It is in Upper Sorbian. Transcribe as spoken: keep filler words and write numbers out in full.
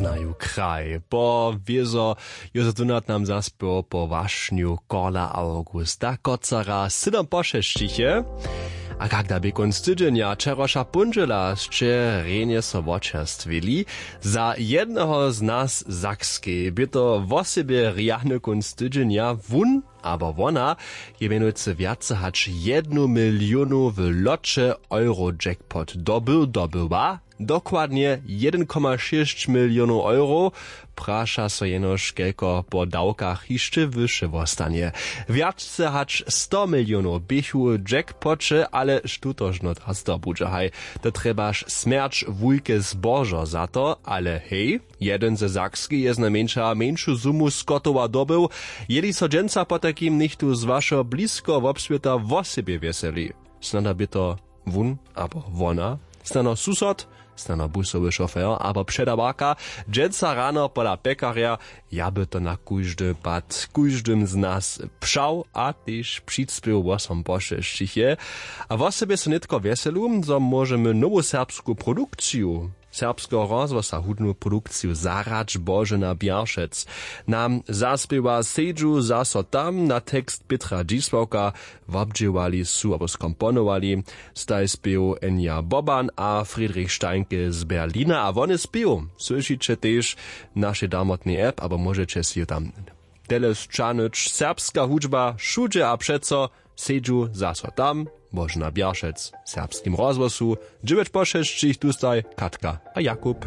Znaju kraj po wězo józef dunat nam zaspěł po wašnju korla augusta kocara sydom pošesćiche. A kak da bě kónc tydźenja wčerawša póndźela sće rjenje so wočerstwili. Za jedneho z nas w sakskej bě to wosebje rjany kónc tydźenja wón abo wona je mjenujcy wjace hač jednu milionu w loće euro jackpot dobył dobyła. Dokładnje jedyn koma šěsć milionow euro. Praša so jenož kelko po dawkach hišće wyše wostanje. Wjace hač sto milionow běchu w jackpoće ale štutožno da zdobudźa haj. To trjebaš smjerć wulke zbožo za to ale hej, jedyn ze sakskej je znajmjeńša mjeńšu sumu skotowa dobył. Jeli so dźensa potajkim něchtó z wašeho blisko wobswěta wosebje wjeseli, snano bě to wón abo wona, snano susod, snano busowy šofer abo předawarka. Dźensa rano pola pjekarja, ja by to na kóždy pad kóždym z nas přał a tež přispěł wosom pošesćiche. A wosebje so nětko wjeselu zo móžemy nowu serbsku produkciju serbskeho rozhłosa hudnu produkciju zarać božena bjaršec. Nam zaspěwa sedźu zaso tam na tekst pětra dźisławka. Wobdźěłali su abo skomponowali staj spěw enja boban a friedrich steinke z berlina a wone spěw słyšiće tež w našej damotnej app abo móžeće sej ju tam tele sćahnyć serbska hudźba wšudźe a přeco. Sedźu zaso tam, božena bjaršec w serbskim rozhłosu dźewjeć po šesćich tustaj katka a jakub.